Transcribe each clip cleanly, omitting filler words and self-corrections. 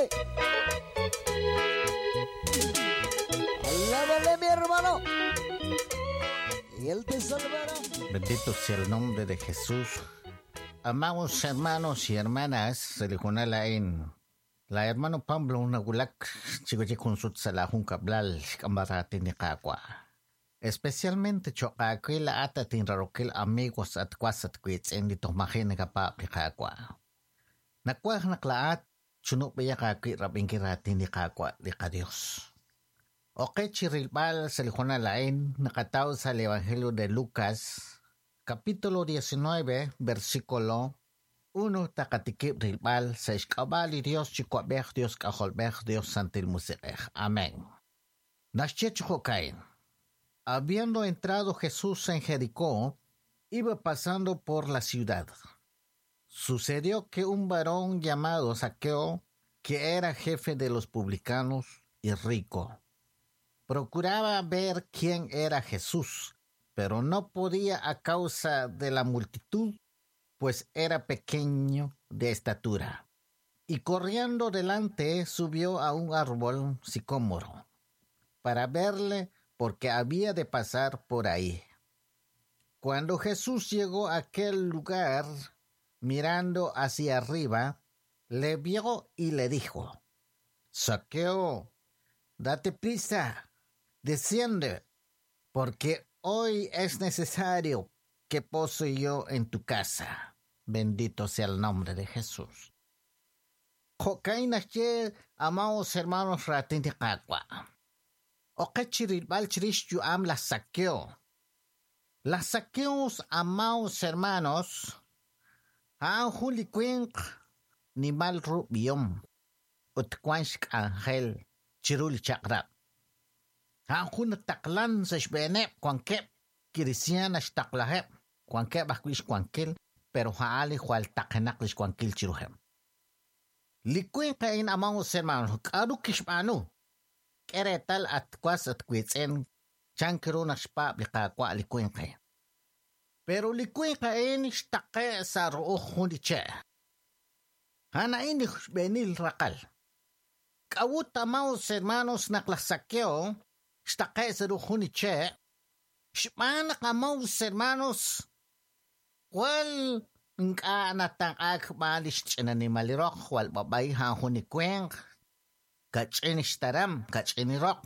Alábale. Alábale, mi hermano. Y Él te salvará. Bendito sea el nombre de Jesús. Amados hermanos y hermanas, se la hermano Pablo nagulak chico salahun kablal kambarati ni kakwa. Especialmente chokakwila ata tinrarokil amigos at kwasat kwits en dito mahin ni kakwa. Nakwah naklaat chunup biya kakwi rabingkirati ni kakwa di ka Dios. Okay chirilbal sa lihona lain nakataw sa Evangelio de Lucas capítulo 19 versículo 1 takatikip rilbal sa iskabali Dios chikwabej Dios kajolbej Dios santil musiqej. Amén. Naschech kain. Habiendo entrado Jesús en Jericó, iba pasando por la ciudad. Sucedió que un varón llamado Zaqueo, que era jefe de los publicanos y rico, procuraba ver quién era Jesús, pero no podía a causa de la multitud, pues era pequeño de estatura. Y corriendo delante subió a un árbol sicómoro para verle, porque había de pasar por ahí. Cuando Jesús llegó a aquel lugar, mirando hacia arriba, le vio y le dijo: Zaqueo, date prisa, desciende, porque hoy es necesario que pose yo en tu casa. Bendito sea el nombre de Jesús. Jo'kain amados hermanos ratin kakwa. Oqechirilbal chirish yuam la saqueo. Las saqueos, amados hermanos, han juli kwink ni mal rubiom. Utwanshk angel chirul chakrab. Han jun taklan sa xbenep kwankep kirisiana xtaklahep kwankep ajkuix kwankel pero haali jwal taqenaq lix kwankil chiruhem. Likwinqa in amados hermanos, k'aru kixb'anu. K'eretal atkuas atkuitz'en chankru naxpab liqakwa likwinqe. Pero likwinqa in xtaqe sa ru'uj jun li che'. Hana in xb'enil raqal. K'awut amados hermanos naq laj Zaqueo xtaqe sa ru'uj jun li che'. Xb'aan naq amados hermanos wal nk'a natanq'ak b'aan lix ch'inanimal roq jwal b'ab'ay jan jun li winq. Kach'in xtaram, kach'in roq.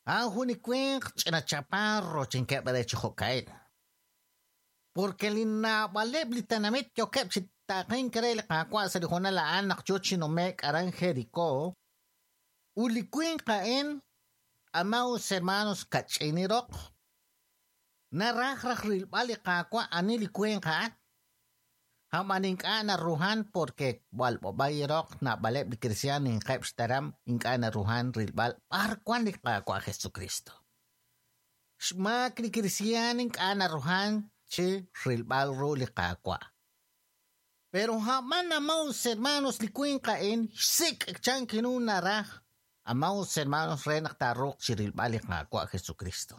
Han jun li winq ch'ina chaparro chinkeb' re chi jo'ka'in. Porque li naab'aleb' li tenamit yokeb' chi taqin kre li qaawa' sa li junal a'an naq yo chi nume'k aran Jericó. U li winq a'in, amados hermanos, kach'in roq. Naraj raj rilb'al li qaawa' ani li winq a'an. Haman ink'a' naruhan porque wal b'ab'ay roq naab'aleb' li cristian inqeb' xtaram ink'a' naruhan rilb'al b'ar wan li qaawa' Jesucristo. Xmaak li cristian ink'a' naruhan chi rilb'al ru li qaawa'. Pero haman amados hermanos li winq a'in xsik' chankinu naraj amados hermanos re naq taaruuq chi rilb'al li qaawa' Jesucristo.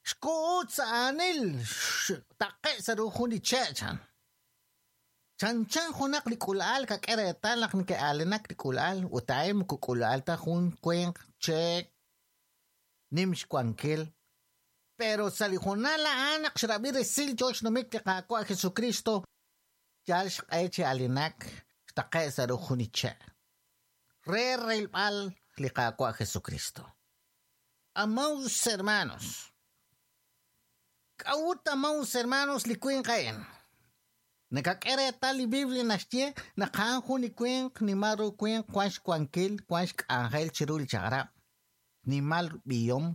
Xku'ut sa aanil taqe' sa ru jun li che' chan. Chanchan junaq li k'ula'al kak'e reetal naq neke'aalinak li k'ula'al ut a'in moko k'ula'al ta jun winq che' nim xwankil. Pero sa li junal a'an naq xrab'i resil yo xnumik li qaawa' Jesucristo yal xq'e chi aalinak xtaqe' sa ru jun li che'. Re rilb'al li qaawa' Jesucristo. Amados hermanos, k'awut amados hermanos li winq a'in. Nakak'e reetal li Biblia naxye naq a'an jun li winq nimal ru winq wan xwankil wan xk'anjel chiru li chaq'rab'. Nimal b'ihom.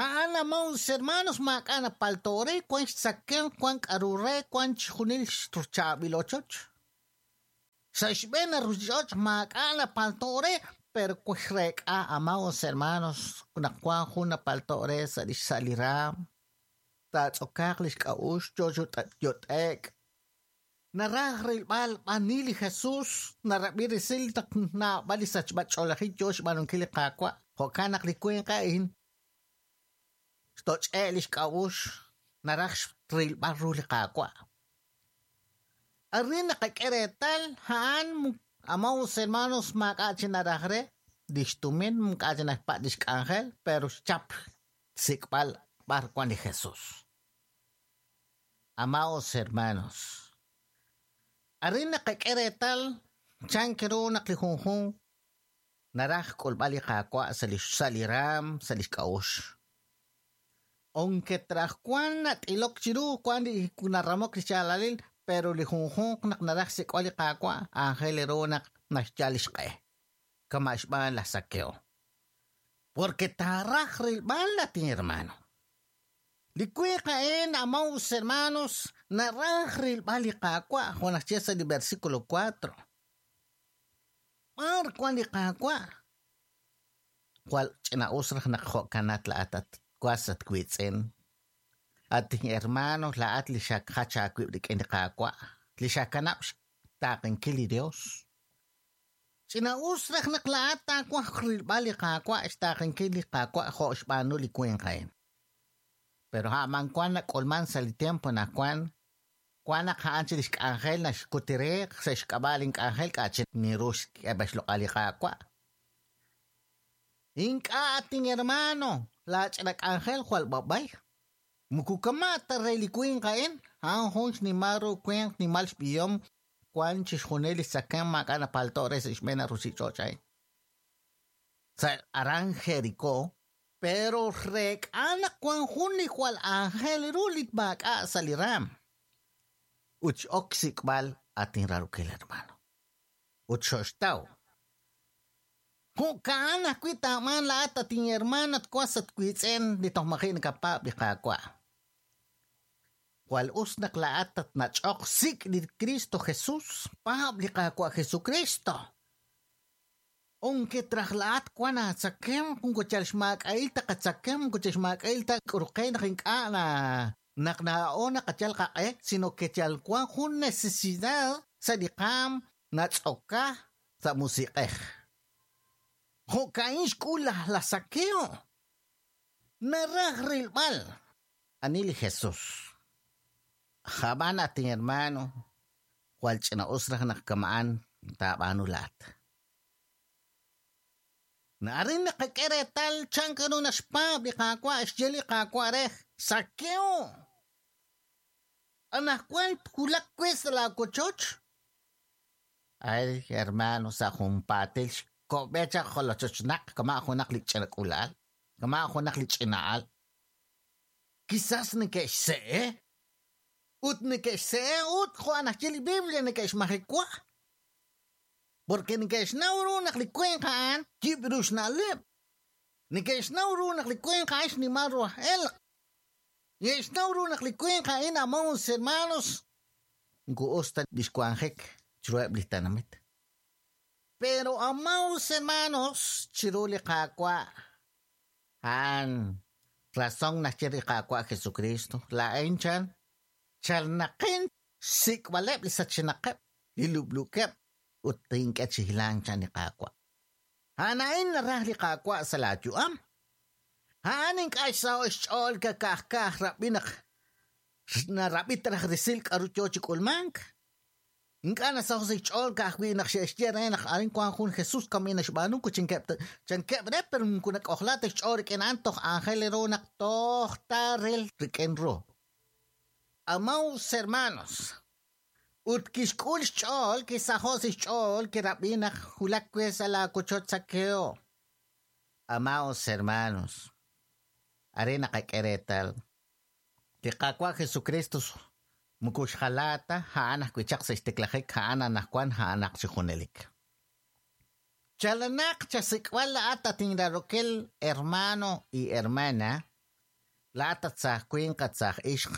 A'an amados hermanos maak'a' napalto re wan xtzakemq wan k'aru re wan chijunil xchaab'il ochoch. Sa xb'een ruchich'och' maak'a' napalto re pero xrek'a amados hermanos naq wan jun napalto re sa' lix sa' li raam. Taatz'okaaq lix k'a'uxl yo yot'ek. Naraj rilb'al b'ani li Jesús narab'i resil naq naab'al li sachb'ach'oolajil yo xb'aanunkil li qaawa'. Jo'kan naq li winq a'in xtoch'e' lix k'a'uxl naraj rilb'al ru li qaawa'. Arin naqak'e reetal a'an Amados hermanos, maak'a' chi naraj re lix tumin, maak'a' chi naxpa' lix k'anjel, pero xchap xsik'b'al b'ar wan li Jesús. Amados hermanos, arin naqak'e reetal chan ru naq li junjunq naraj k'ulb'al li Qaawa' sa' lix sa' li raam, sa' lix k'a'uxl. Aunque traj wan nat'ilok chiru wan li naramok li xyaalalil, pero li junjunq naq naraj xsik'b'al li Qaawa' aajel ru naq naxyal lix q'e. Kama' xb'aan laj Zaqueo. Porque taaraj rilb'al latin hermano. Li winq a'in, amados hermanos, naraj rilb'al li Qaawa' jo' naxye sa' li versículo 4. B'ar wan li Qaawa'? Jwal ch'ina'us raj naq jo'kanat laa'at at was at wiitz'in. At hermano, laa'at li xakjach aawib' rik'in li Qaawa', li xakanab' xtaaqenkil li Dios. Ch'ina'us raj naq laa'at taawaj rilb'al li Qaawa', xtaaqenkil li Qaawa' jo' xb'aanu li winq a'in. Pero a'man wan nak'ulman sa' li tiempo naq wan wan naq a'an chi lix k'anjel naxkutireq sa' xk'ab'a' lin k'anjel k'a' chi niru xk'eb'al xloq'al li Qaawa'. Ink'a' atin hermano, laa ch'ina k'anjel jwal b'ab'ay. Muku kama' ta re li winq a'in, a'an jun xnimal ru winq nimal xb'ihom wan chixjunil li tzakemq maak'a' napalto' re sa' xb'een ruchich'och' a'in. Sa' aran Jericó, pero reek'a naq wan jun li jwal aajel ru li maak'a' sa' li raam. Ut x'ok xsik'b'al atin rarukil hermano. Ut xoxtaw. Jo'kan ajwi' taab'aan laa'at atin hermano at was at wiitz'in li toj maji' nakapaab' li Qaawa'. Jwal us naq laa'at tatnach'oq sik' li Cristo Jesús, paab' li Qaawa' Jesucristo. Aunque traj laa'at wan aatzakemq, moko yal xmaak'a'il ta qatzakemq, moko yal xmaak'a'il ta k'uruqe naq ink'a' na naq naa'o naqayal qaq'e, sino que yal wan jun necesidad sa' li qaam natz'oka sa' musiq'ej. Jo'ka'in xk'ul laj Zaqueo. Naraj rilb'al. Ani li Jesús. Jab'an atin hermano, jwal ch'ina'us raj naq kama'an taab'aanu laa'at. Arin naqak'e reetal chan ru naxpaab' li Qaawa' xye li Qaawa' re Zaqueo. Anajwan twulaq we sa' laawochoch. Ay, hermano, sa' junpaatil xko'b'e chaq jolochochnaq kama' junaq li ch'ina k'uula'al, kama' junaq li ch'ina'al. Quizás neke'xse'e. Ut neke'xse'e ut jo' naxye li Biblia neke'xmajewa. Porque neke'xnaw ru naq li winq a'an yib' ru xna'leb'. Neke'xnaw ru naq li winq a'an xnimal ru aj elq'. Neke'xnaw ru naq li winq a'in amados hermanos moko us ta lix wanjik chiruheb' li tenamit. Pero amados hermanos chiru li Qaawa' a'an razón naxye li Qaawa' Jesucristo. Laa'in chan chalnaqin xsik'b'aleb' li sachenaqeb', li lub'lukeb' ut tink'e chi hilank chan li Qaawa'. A'an a'in naraj li Qaawa' sa' laayu'am. A'an ink'a' xsaho' xch'ool kaka'ajka'aj rab'i naq narab'i raj resil k'aru yoo chi k'ulmank. Ink'a' nasaho' sa' xch'ool ka'ajwi' naq xe'xye re naq arin wan jun Jesús kami naxb'aanu ku chankeb' re pero moko nak'ojla ta xch'ool rik'in a'an toj aajel ru naq toj taaril rik'in ru. Amados hermanos, ut kixk'ul xch'ool, kisaho' sa' xch'ool, kirab'i naq wulak we sa' laawochoch Zaqueo. Amados hermanos, arin naqak'e reetal. Li Qaawa' Jesucristo moko xjala ta a'an ajwi' chaq sa' xtiklajik a'an anajwan a'anaq chi junelik. Chalanaq chasik'b'al laa'at atinrarokil hermano y hermana, laa'at at saaj winq at saaj ixq,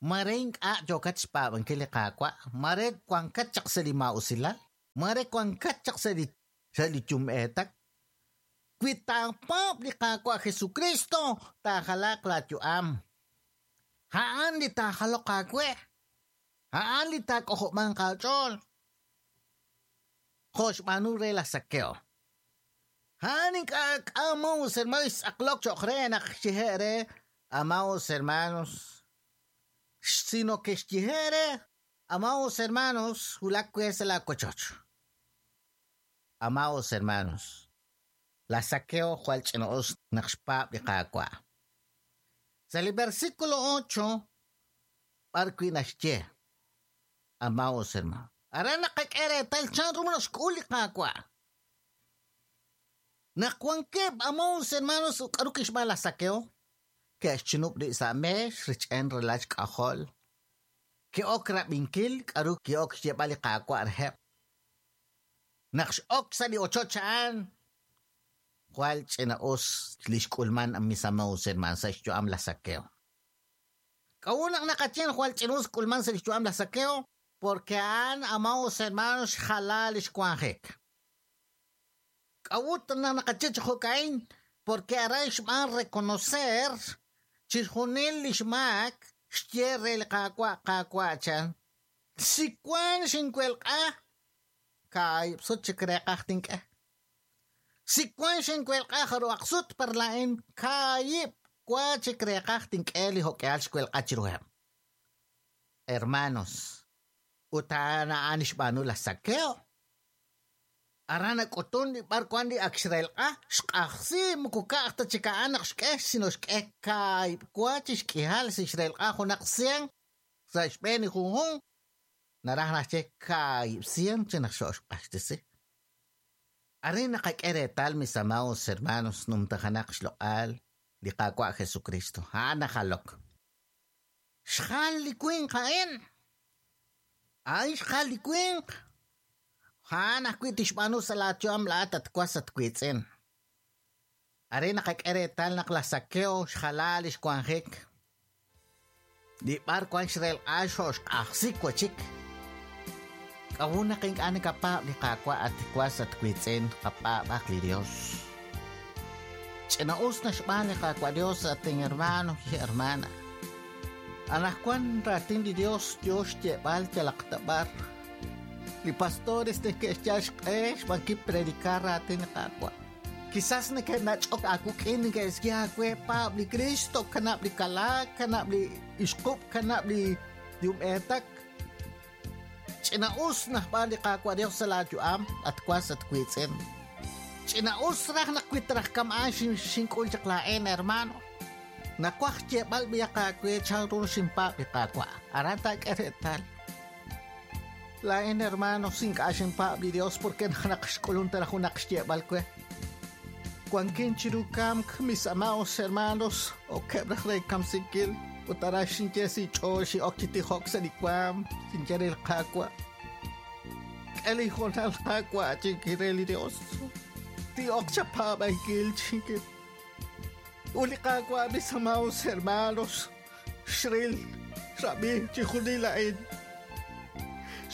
mare ink'a' yookat xpaab'ankil li Qaawa', mare wankat chaq sa' li maa'usilal, mare wankat chaq sa' li yum'eetak. Wi taapaab' li Qaawa' Jesucristo, taajalaaq laayu'am. A'an li taajaloq aawe. A'an li taak'ojob'anq aach'ool. Jo' xb'aanu re laj Zaqueo. A'an ink'a' amados hermanos xtz'aqlok cho'q re naq xyehe' re amados hermanos, sino que xyehe' re amados hermanos wulak we sa' laawochoch. Amados hermanos, laj Zaqueo jwal ch'ina'us naq xpaab' li Qaawa'. Sa' li versículo 8 b'ar wi' naxye, Amados hermanos, aran naqak'e reetal chanru naxk'ul li Qaawa'. Naq wankeb' amados hermanos k'aru kixb'aan laj Zaqueo, ke'xchinub' rib' sa' meex rich'en ralal xk'ajol. Ke'ok rab'inkil k'aru ki'ok xyeeb'al li Qaawa' reheb'. Naq x'ok sa' li ochoch a'an, jwal ch'ina'us li xk'ulman mis amados hermanos sa' xyu'am laj Zaqueo. K'a'ut naq naqaye jwal ch'ina'us k'ulman sa' xyu'am laj Zaqueo? Porque a'an amados hermanos xjala li xwanjik. K'a'ut naq naqaye chi jo'ka'in? Porque aran xb'aan reconocer chixjunil li xmaak xye re li Qaawa' Qaawa' chan. Si wan xinwelq'a, kaahib' sut chik reeqaj tink'e. Si wan xinwelq'a jaru'aq sut par laa'in kaahib' wa chik reeqaj tink'e li jo'k'ihal xwelq'a chiruheb'. Hermanos, ut a'an a'an xb'aanu laj Zaqueo. Aran nak'utun li b'ar wan li ak xrelq'a, xq'ajsi moko ka'aj ta chik a'an naq xk'e, sino xk'e kaahib' wa chi xk'ihal si xrelq'a junaq cien sa' xb'een li junjunq, naraj naxye kaahib' cien chi naq xo'xq'axtesi. Arin naqak'e reetal mis amados hermanos numtajanaq xloq'al li Qaawa' Jesucristo. A'an najalok. Xjal li winq a'in. A'in xjal li winq. A'an ajwi' tixb'aanu sa' laayu'am laa'at at was at wiitz'in. Arin naqak'e reetal naq laj Zaqueo xjala li xwanjik. Li b'ar wan xrelq'a xo'xq'ajsi wachik. K'a'ut naq ink'a' nakapaab' li Qaawa' at was at wiitz'in qapaab'aq li Dios. Ch'ina'us naxb'aan li Qaawa' Dios at hermano y hermana. Anajwan raatin li Dios yo xyeeb'al yalaq ta b'ar. Li pastores neke'xyal xq'e xb'aan kipredicar raatin li Qaawa'. Quizás neke'nach'ok aawik'in neke'xye aawe paab' li Cristo, kanab' li kalaak, kanab' li ixqub', kanab' li yumb'eetak. Ch'ina'us najb'aan li Qaawa' Dios sa' laayu'am at was at wiitz'in. Ch'ina'us raj naq wi traj kama'an xink'ul chaq laa'in hermano. Nawaj xyeeb'al b'iyaq aawe chanru xinpaab' li Qaawa'. Aran taak'e reetal. Laa'in hermano ink'a' xinpaab' li Dios porque naq xk'ulun ta junaq xyeeb'al we. Wankin chiru kamk mis amados hermanos okeb' raj re kamsinkil ut aran xinye si ch'ool xi'ok chi tijok sa' li waam xinye re li Qaawa'. K'e li hoonal Qaawa' chinki re li Dios. Ti'ok chapaab'ankil chinki. Ut li Qaawa' mis amados hermanos xril xrab'i chijunil a'in.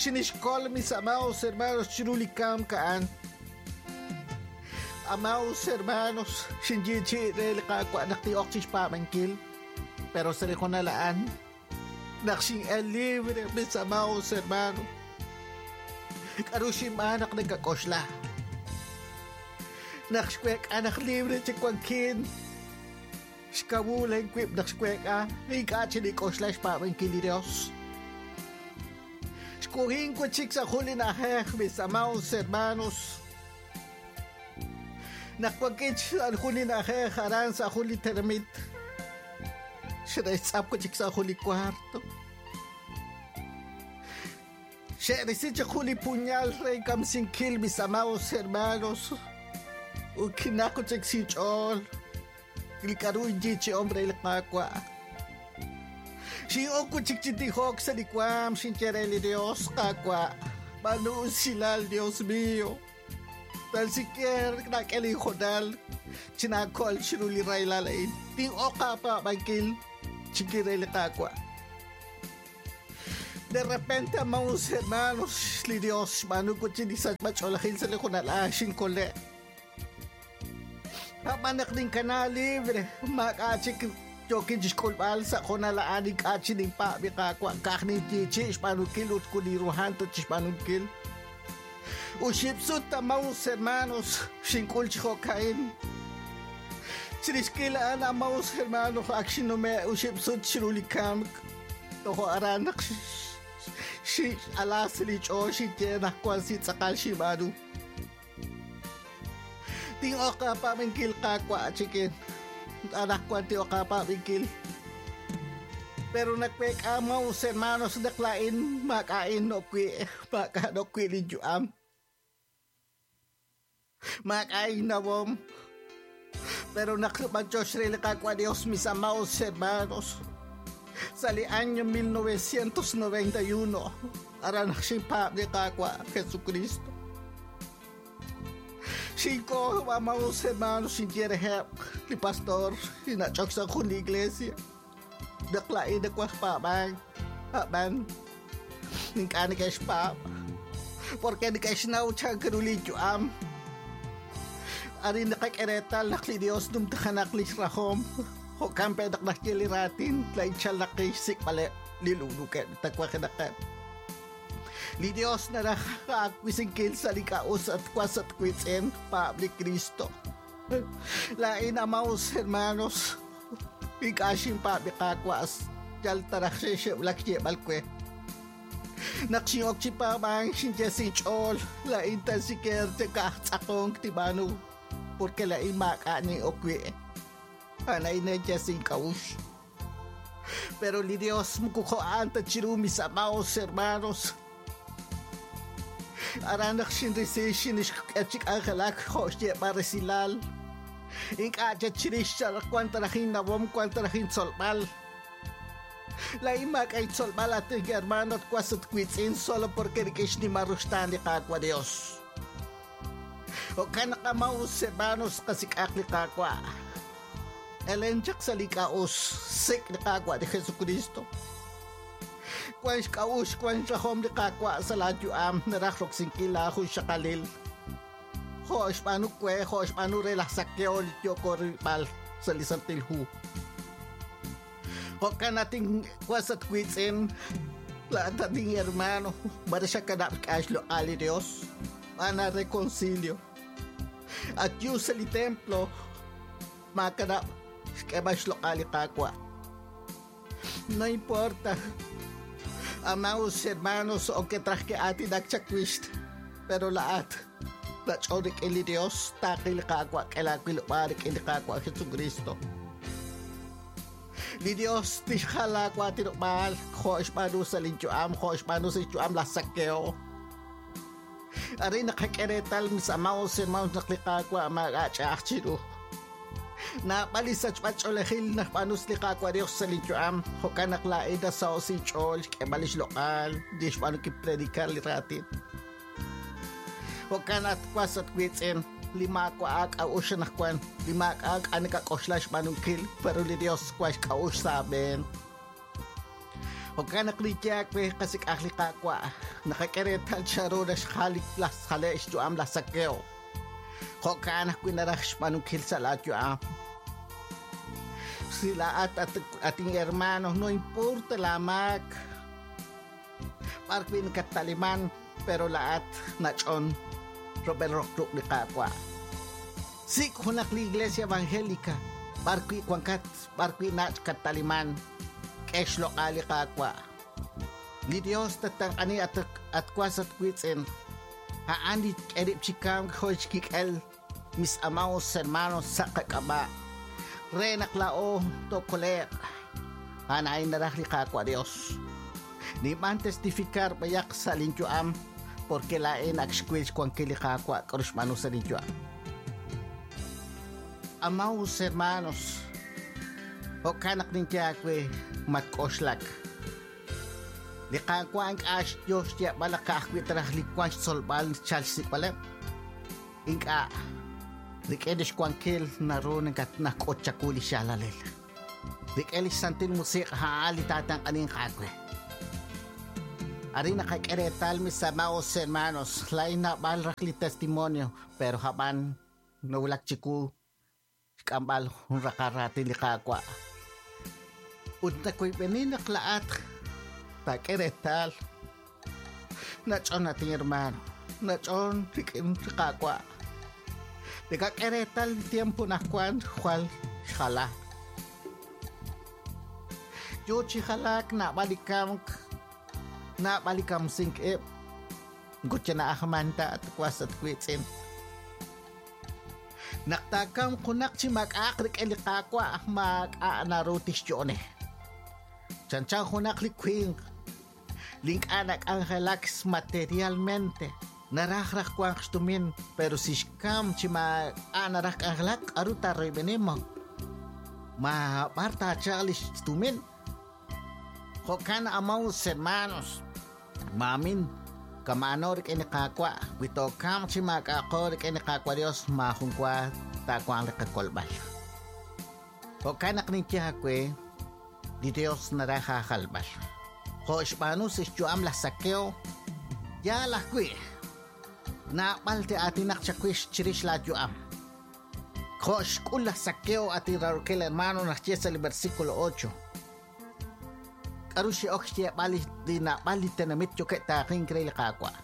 Xinixkol mis amados hermanos chiru li kamk a'an. Amados hermanos, xinyichi re li Qaawa' naq ti'ok chixpaab'ankil. Pero sa li hoonal a'an, naq xin'el libre mis amados hermanos. K'aru xinb'aan naq nakak'oxla. Naq xwek'a naq libre chi wankin. Xkawul inwib' naq xwek'a, ink'a' chi nik'oxla xpaab'ankil li Dios. Xk'uhin wachik sa' jun li na'ajej mis amados hermanos. Naq wankin sa' jun li na'ajej aran sa' jun li tenamit. Xe'xtz'ap wachik sa' jun li cuarto. Xe'risi chaq jun li puñal re kamsinkil mis amados hermanos. Ut kinaq chik sinch'ool. Li k'aru inyichi'om re li Qaawa'. Xin'ok chik chi tijok sa' li waam xinye re li Dios Qaawa'. B'aanu usilal Dios mío. Tan siquiera nak'e li hoonal chinaakol chiru li rahilal a'in. Tin'ok aapaab'ankil chinki re li Qaawa'. De repente, amados hermanos, li Dios xb'aanu chi li sachb'ach'oolejil sa' li hoonal a'an xinkole'. Ab'an naq ninkana libre, maak'a' chik yookin chixk'ulb'al sa' hoonal a'an ink'a' chi ninpaab' li Qaawa' ka'aj ninyichi xb'aanunkil ut kuniruhan ta chixb'aanunkil. Ut xib'sut amados hermanos xink'ul chi jo'ka'in. Chirix kil a'an amados hermanos ak xinume' ut xib'sut chiru li kamk. Tojo aran naq x'ala sa' li ch'ool xinye naq wan si tz'aqal xinb'aanu. Tin'oq aapab'inkil Qaawa' chikin. Anaqwan tin'oq aapab'inkil. Pero nagweek'a amaos hermanos naq laa'in maak'a'in nokwi' maak'a' nokwi' linyu'am. Maak'a'in nawom. Pero naq b'anyox re li Qaawa' Dios, mis amados hermanos, sa' li año 1991, aran naq xinpaab' li Qaawa' Jesucristo. Xinko, amados hermanos, xinye reheb' li pastor, xinach'ok sa' jun li iglesia. Naq laa'in nawaj paab'ank, a'b'an ink'a' neke'xpaab', porque neke'xnaw chan ru li yu'am. Arin naqak'e reetal naq li Dios numtajanaq lix rajom, jo'kan pe naq naxye li raatin, laa'in chalnaqin xsik'b'aleb' li lu'lukeb' tawajenaqeb'. Li Dios naraj aawisinkil sa' li k'a'us at was at wiitz'in, paab' li Cristo. Laa'in amados hermanos, ink'a' xinpaab' li Qaawa' yal taraj xe'xe'wulak xyeeb'al we. Naq xin'ok chi paab'ank xinye sa' inch'ool, laa'in tan siker ka'aj tz'aqonk tib'aanu, porque laa'in maak'a' nin'ok wi'. A'an a'in sa' ink'a'uxl. Pero li Dios moko jo'an ta chiru mis amados hermanos. Aran naq xinrisi xinixk'e chi k'anjelak jo' xyeeb'al resilal. Ink'a' chik chirix wan taraj innawom, wan taraj intzolb'al. Laa'in maak'a' intzolb'al at hermano at was at wiitz'in solo porque rik'in xnimal ruxtaan li Qaawa' Dios. Jo'kan naq amados hermanos qasik'aq li Qaawa'. Elen chaq sa' li k'a'us, sik' li Qaawa' li Jesucristo. Wan xk'a'uxl, wan xrajom li Qaawa' sa' laayu'am, naraj roksinkil laajun xaqalil. Jo' xb'aanu we, jo' xb'aanu re laj Zaqueo li yooko rilb'al sa' li Santil Hu. Jo'kan atin was at wiitz'in, laa'at atin hermano, mare xakanab' xk'a'ax xloq'al li Dios, b'aan reconcilio. At yu sa' li templo, maakanab' xk'eeb'al xloq'al li Qaawa'. No importa, amados hermanos, o que traj que aatinak chakwix, pero laat nach'on rik'in li Dios, taaqil li Qaawa' k'e laawilob'aal rik'in li Qaawa' Jesucristo. Li Dios tixjal laawaatinob'aal jo' xb'aanu sa' linyu'am, jo' xb'aanu sa' xyu'am laj Zaqueo. Arin naqak'e reetal, mis amados hermanos, naq li Qaawa' maak'a' ch'a'aj chiru. Naab'al li sachb'al ch'oolejil naqb'aanu li Qaawa' Dios sa' linyu'am, jo'kan naq laa'in nasaho' sa' inch'ool xk'eeb'al li xloq'al, li xb'aanu kipredicar li raatin. Jo'kan at was at wiitz'in, li maawa' k'a'uxl anaqwan, li maak'a' k'a nakak'oxla xb'aanunkil, pero li Dios wan xk'a'uxl sa' aab'een. Jo'kan naq li yaak we qasik'aj li Qaawa', naqak'e reetal chanru naxjal laj jale' xyu'am laj Zaqueo. Jo'kan ajwi' naraj xb'aanunkil sa' laayu'am. Si laa'at atin hermano, no importa laamaak, b'ar wi' nakattaliman, pero laa'at nach'on rub'el roq ruq' li Qaawa'. Sik' junaq li iglesia evangélica, b'ar wi' wankat, b'ar wi' nach' kattaliman, k'e xloq'al li Qaawa'. Li Dios tattenq'ani at was at wiitz'in. A'an li k'e rib' chi kamk jo' xkik'el, mis amados hermanos sa' qak'ab'a'. Re naq laa'o tookole'q. A'an a'in naraj li Qaawa' Dios. Ninb'an testificar b'ayaq sa' linyu'am, porque laa'in ak xwil xwankil li Qaawa' k'aru xb'aanu sa' linyu'am. Amados hermanos, jo'kan naq ninye aawe matk'oxlak. Li Qaawa' ink'a' yo xyeeb'al naq ka'ajwi' taraj li wan xtzolb'al chal xsik'b'aleb'. Ink'a' rik'in li xwankil naru nak'ut chawu li xyaalalil. Rik'in li xsantil musiq' a'an li taatenq'aninq aawe. Arin naqak'e reetal, mis amados hermanos, laa'in naab'al raj li testimonio, pero hab'an nawulak chiwu xk'amb'al jun raqal raatin li Qaawa'. Ut nakoyb'eni naq laa'at taak'e reetal nach'on atin hermano, nach'on rik'in li Qaawa'. Nakak'e reetal li tiempo naqwan jwal xjala. Yo chi jalaak naab'al li kamk, naab'al li kamsink ib', moko chana'ajman ta at was at wiitz'in. Naq taakamq junaq chi maak'a'aq rik'in li Qaawa', maak'a' naru tixyo'one. Chanchan junaq li winq li ink'a' nak'anjelak materialmente, naraj raj wanq xtumin, pero si xkam chi maak'a' naraj k'anjelak, k'aru taaroyb'eni ma b'ar taachalq li xtumin. Jo'kan amados hermanos, maamin kama'ano rik'in li Qaawa', wi tookamq chi maak'a'aqo rik'in li Qaawa' Dios, maajun wa taawanq li qakolb'al. Jo'kan naq ninye aawe, li Dios naraj aajalb'al. Jo' xb'aanu sa' xyu'am laj Zaqueo, yaal ajwi', naab'al te'aatinaq chawix chirix laayu'am. Jo' xk'ul laj Zaqueo atin raarokil hermano naxye sa' li versículo 8. K'aru xe'ok xyeeb'al li naab'al li tenamit yookeb' taaqink re li Qaawa'.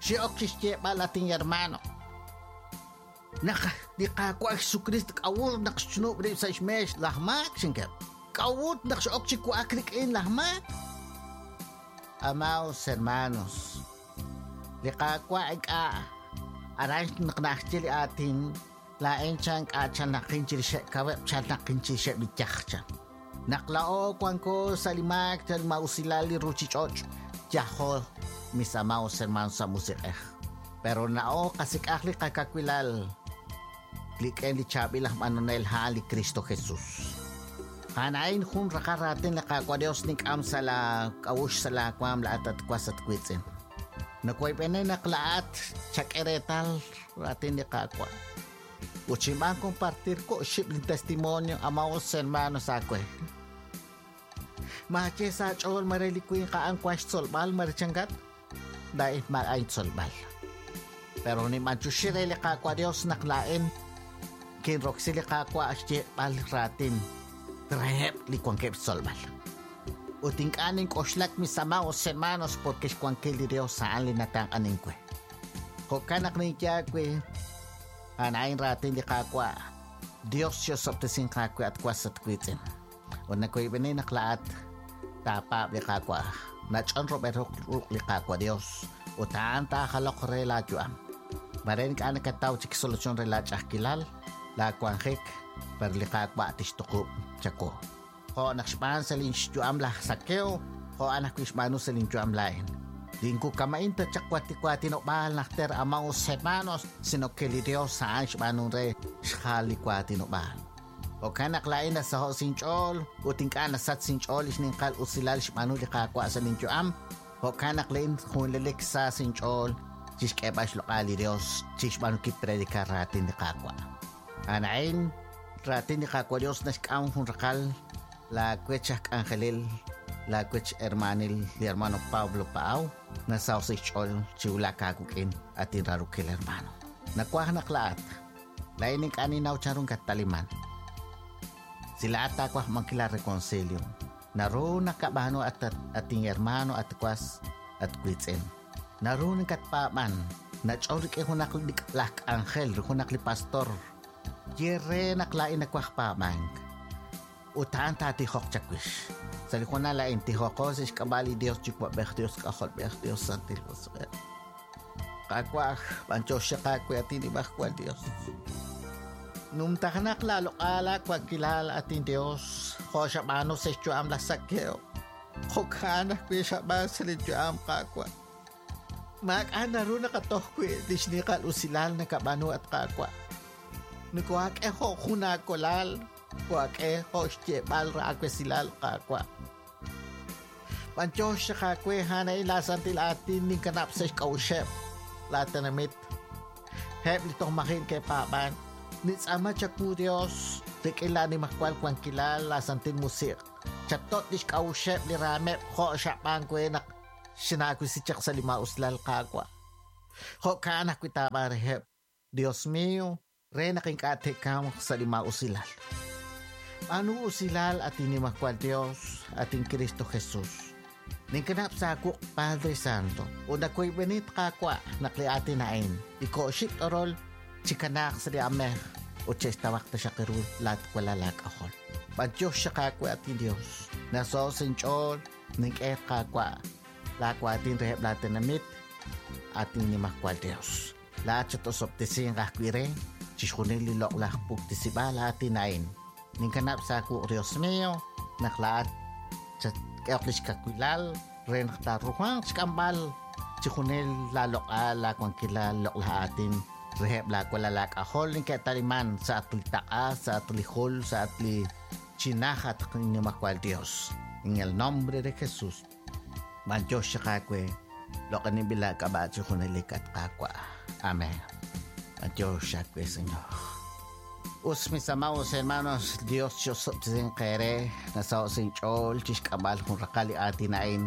Xe'ok chi xyeeb'al atin hermano. Naq li Qaawa' Jesucristo k'a'ut naq xchunub' rib' sa' xmeex laj maak xinkeb'. K'a'ut naq x'ok chi wa'ak rik'in laj maak. Amados hermanos, li Qaawa' ink'a' aran naq naxye li aatin laa'in chan k'a' chalnaqin chirixeb' kaweb' chalnaqin chirixeb' li yaj chan. Naq la'o wanko sa' li maak sa' li ma'usilal li ruchich'och' yajo mis amados hermanos sa' musiq'ej. Pero na'o qasik'aj li qakawilal rik'in li chaab'il aj b'anonel a'an li Cristo Jesus. A'an jun raqal raatin li Qaawa' Dios nink'am sa' la k'a'uxl sa' la waam la'at at was at wiitz'in. Nakoyb'ene naq la'at chak'e reetal raatin li Qaawa'. Ut xinb'aan compartir ko xib' li testimonio amados hermanos aawe. Maaye sa' ch'ool mare li winq a'an wan xtzolb'al mare changat, laa'in maak'a' intzolb'al. Pero ninb'anchuxi re li Qaawa' Dios naq laa'in kinroksi li Qaawa' xyeeb'al raatin reheb' li wankeb' xtzolb'al. Ut ink'a' nink'oxlak mis amados hermanos porque xwankil li Dios a'an li natanq'anin we. Jo'kan naq ninye aawe, a'an raatin li Qaawa', Dios xyosob'tesin aawe at was at wiitz'in. Ut nakoyb'eni naq la'at taapaab' li Qaawa', nach'on rob'el ruq' li Qaawa' Dios, ut a'an taajaloq re laayu'am. Mare ink'a' nakataw chik solución re laach'ajkilal, laawanjik, pero li Qaawa' tixtuqub' chawu. Jo' naq xb'aan sa' lin xyu'am laj Zaqueo, jo' a'an ajwi' xb'aanu sa' lin yu'am laa'in. Linkukama'in ta chaq waatinob'aal najter amados hermanos, sino que li Dios a'an xb'aanu re xjal li waatinob'aal. Jo'kan naq laa'in nasaho' sinch'ool ut ink'a' nasach sinch'ool li xninqal usilal xb'aanu li Qaawa' sa' lin yu'am. Jo'kan naq laa'in junelik sa sinch'ool chixk'eeb'al xloq'al li Dios chixb'aanunkil predicar raatin li Qaawa'. A'an raatin li Qaawa' Dios naxk'am jun raqal la wech aj k'anjelil, la wech hermanil li hermano Pablo Paau, nasaw sa' xch'ool chi wulak aawik'in atin raarokil hermano. Nakuaj naq la'at, laa'in ink'a' ninnaw chanru kattaliman. Si la'at taakuaj mankil la reconcilio, naru nakab'aanu at atin hermano at was at wiitz'in. Naru nakatpaab'an, nach'ol rik'in junaq li laj k'anjel, junaq li pastor. Ye re naq laa'in nakuaj paab'ank. Ut a'an taatijoq chawix. Sa' li junal laa'in tijoqo sa' xk'ab'a' li Dios Yuwa'b'ej, Dios K'ajolb'ej, Dios Santil Musiq'ej. Qaawa', b'anch'ox qaawe atin Nimajwal Dios. Numtajanaq laaloq'al aawankilal atin Dios, jo' xab'aanu sa' xyu'am laj Zaqueo. Jo'kan ajwi' xab'aan sa' li yu'am Qaawa'. Maak'a' naru naqatoj wi' li xninqal usilal nakab'aanu at Qaawa'. Nikohaak'e jo' jun aakolal, kohaak'e jo' xyeeb'al raawesilal Qaawa'. B'anch'ox qaawe a'an la santil aatin ninkanab' sa' xk'a'uxeb' la tenamit. Heb li toj maji' ke'paab'an. Nitz'aama chawu Dios rik'in la nimajwal wankilal la santil musiq'. Chatot' li xk'a'uxeb' li raameb' jo' xab'aan we naq xinaawisi chaq sa' li ma'usilal Qaawa'. Jo'kan ajwi' taab'aan reheb', Dios mío, re naq ink'a' te'kamq sa' li ma'usilal. B'aanu usilal atin nimajwal Dios, atin Cristo Jesus. Ninkanab' sa' aawuq' Padre Santo, ut nakoyb'enit Qaawa' naq li aatin a'in, iko'xib' t'orol chikanaaq sa' li amej ut che'xtawaq taxaq ru laatwalal laak'ajol. B'anyox xaqaawe atin Dios, naso'o sinch'ool nink'e Qaawa' laawaatin reheb' laatenamit atin nimajwal Dios. Laat chatosob'tesinq ajwi' re Chixjunil li loq'laj puktisib'aal aatin a'in. Ninkanab' sa' aawuq', Dios mío, naq laa'at chatk'ehoq lix kawilal re naq taaruhanq xk'amb'al chixjunil laa loq'al, laa wankilal, loq'laj aatin reheb' laa walal aak'ajol neke'taliman sa' at li taq'a, sa' at li jul, sa' at li chinaj at Nimajwal Dios. En el nombre de Jesús. B'antiox chaq aawe, loq'aninb'il laak'ab'a' chi junelik at Qaawa'. Amén. B'antiox aawe, Señor. Us, mis amados hermanos, Dios chi'osob'tesinq eere, nasaho' sa' inch'ool chixk'amb'al jun raqal li aatin a'in.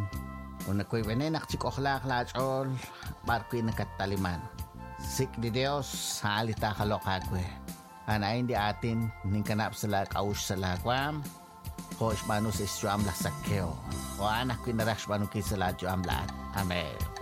Ut nawoyb'eni naq chik'ojlaaq laa ch'ool b'ar wi' nakattaliman. Sik' li Dios, a'an li taajaloq aawe. A'an a'in li aatin ninkanab' sa' laa k'a'uxl sa' laa waam, jo' xb'aanu sa' xyu'am laj Zaqueo, jo' a'an ajwi' naraj xb'aanunkil sa' laa yu'am laa'at. Amén.